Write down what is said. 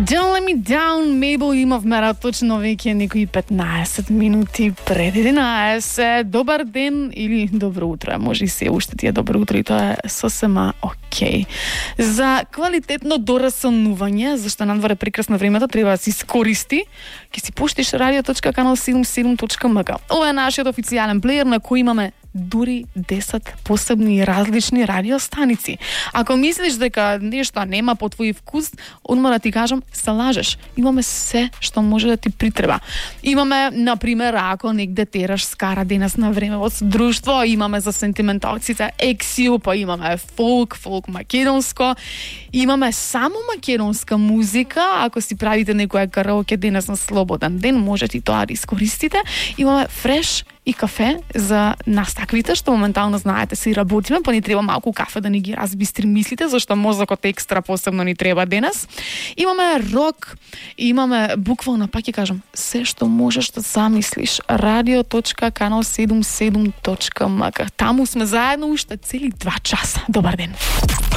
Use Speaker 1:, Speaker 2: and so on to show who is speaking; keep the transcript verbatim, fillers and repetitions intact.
Speaker 1: Don't let me down, Mabel имавме точно веќе некои петнаесет минути пред единаесет. Добар ден или добро утро, може и се уште ти е добро утро и тоа е сосема окей. За квалитетно дорасонување, зашто надвор е прекрасно времето, треба да се искористи. Ќе си пуштиш радио точка канал седумдесет и седум точка ем ка. Ова е нашиот официјален плеер на кој имаме дури десет посебни и различни радиостаници. Ако мислиш дека нешто нема по твој вкус, одма да ти кажам, се лажеш. Имаме се што може да ти притреба. Имаме, например, ако негде тераш скара денес на време во друштво, имаме за сентименталците ексио, па имаме фолк, фолк македонско, имаме само македонска музика, ако си правите некоја караоке денес на слободен ден, можете и тоа да искористите. Имаме фреш и кафе за нас таквите, што моментално знаете си работиме, па ни треба малку кафе да ни ги разбистри мислите, зашто мозокот екстра посебно ни треба денес. Имаме рок, имаме буквално, пак ќе кажам, се што можеш да замислиш. радио точка канал седумдесет и седум точка ем ка. Таму сме заедно уште цели два часа. Добар ден.